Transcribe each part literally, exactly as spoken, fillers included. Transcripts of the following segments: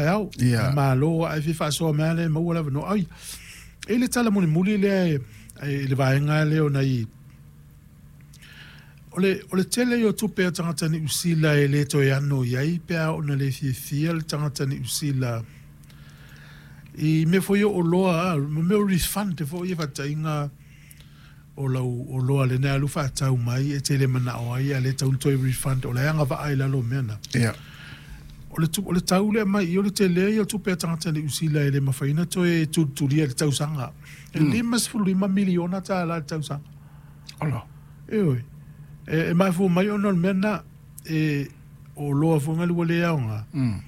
taeao. Ia. Malo ai fi faasoa mea le maua le avanoa. Ai, e le tala mulimuli lea e i le vaega lea ona i o le o le tele o tupe a tagata Niu Sila e le toe ano i ai pe a ona le fiafia le tagata Niu Sila i mea foi o oloa a, ma mea o refund foi e faataiga o lau oloa lena alu faatau mai e tele manao ai a le tau toe refund o le agavaa i lalo o mea na. Ia. O le, tu, o le tau lea mai i o le tele ia o tupe a tagata Niu Sila e le mafai ona toe tulitulia i le tausaga. E limasefulu lima miliona tālā i le tausaga. Ola. Ioe. E, e mafua mai ona o le mea na e o oloa foi nga ua le aoga. Mm.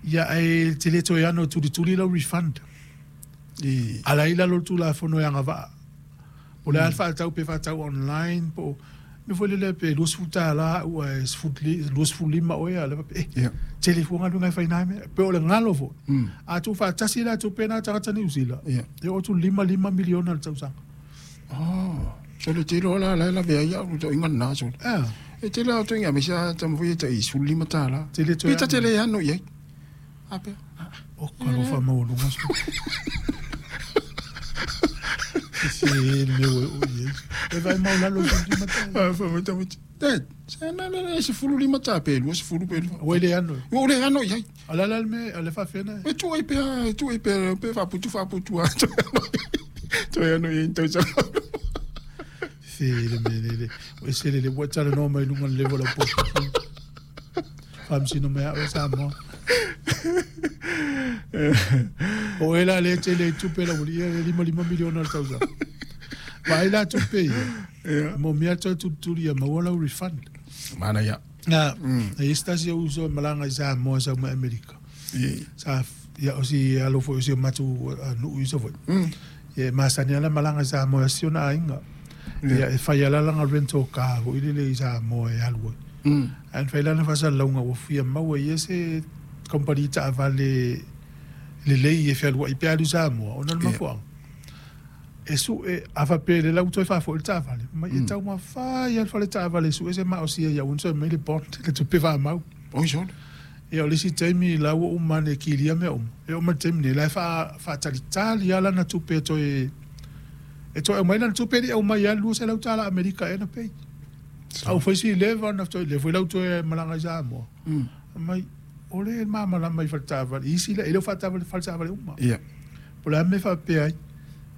Ia e te le toe ano e tulituli lau refund. I Ala i lalo o le Tulafono e agavaa. O le a le faatau pe faatau online po o mea foi lele pe luasefulu tālā ua e luasefulu lima oe a le faapea, eh, Ia. tele fua galuega e fai na mea. Pe o le galo foi. Mm. A tuufaatasi la tupe na tagata Niu Sila. Ia. E oo atu lima lima miliona le tausaga. Oh. So le tele o la la la vea ia u to inga na so. Ah, E tele au to inga me sa ta mo ta i sulu lima tālā. Tele toe Pita ano. tele ano i ai. A pea. O kalofa maualuga so. Se le mea ua oo i ai. E vaai maulalo i lima tālā. Ah, fa mo ta mo. Te, se na na na se fulu lima tā pe lu se fulu pe lu. Ua i le ano. O le ano i ai. O le a la le mea, o le faafena. E tu ai pea, e tu ai pea, pe faaputu faaputu a. Toe ano i ai tausaga. Se le mea lele. O e se lele ua talanoa mai luga o le level o po. Faamasino mai au e Samoa. O e la le tele i tupe la uli ia le lima lima miliona le tausaga. Vaai la tupe ia. Ia. Mo mea toe tulituli ia maua lau refund. Mana ia. Na, e isi tasi o uso e malaga i Samoa sau mai Amerika. I. Sa ia o si alo foi o si o matou nuu iso foi. Mm. Ia e masani ala malaga i Samoa e si ona aiga. Ia e fai ala lana rental car foi lele i Samoa e alu ai. Mm. Ae na fai lana faasalalauga ua fia maua ia se kompani taavale lelei e fealuai pe alu i Samoa ona o le Ia. mafuaaga. E sue a faapea le lau toe faafoi le taavale. Mai e taumafai lava le fale taavale e sue se maosia ia ua toe mai le bond le tupe faamau. Oi sole. Ia o le isi taimi la ua uma ane e kilia mea uma. E oo mai le taimi nei la e faa faatalitali lava lana tupe e toe e toe aumai lana tupe e le i aumai lava le luaselau tālā Amerika ea na pei. A ua fai si leva ona toe le foi lau toe malaga i Samoa. Mm. Mai o le malamalama i fale taavale. Isi la e le o faataavale fale taavale uma. Ia. Po o le a mea faapea ai.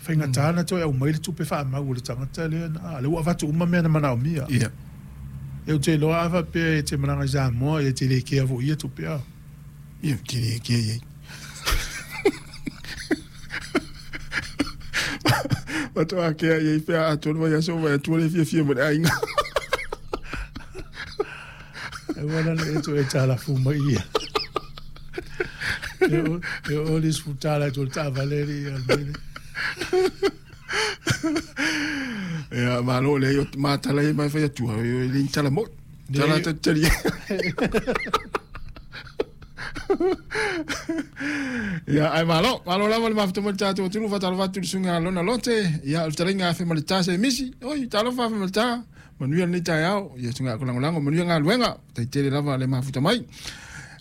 Faigata na toe aumai le tupe faamau o le tagata lea na a lea ua avatu uma mea na manaomia. Ia. E ou te iloa a faapea e te malaga i Samoa e te le kea foi ia tupe a. Ia te le kea i ai. Faatoa kea i ai pea atoa le vaiaso vai atua le fiafia ma le aiga. E ua lana e toe talafu mai ia. E o e o le sefulu tālā i tolu taavale alii ia le mea lea. Ia malo le o matala i mai fai atua e le tala mo. Tala Nei. tali. Ia ai malo, malo lava le mafuta mo le tatou atunuu faatalofa atu i le susuga Lona Lote, ia o le fetalaiga afe ma le ta se misi. Oi talofa afe ma le ta. Manuia lenei taeao, ia susuga lagolago manuia galuega, taitele lava le mafuta mai.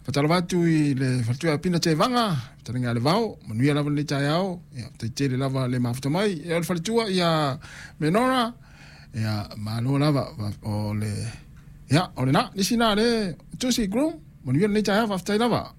Faatalofa atu i le faletua Pina Tevaga, fetalaiga le Vao, manuia lava lenei taeao, ia taitele lava le mafuta mai. Ia o le faletua ia Menora, ia malo lava o le ia o lena nisi na le Tusi Groom, manuia lenei taeao faafetai lava.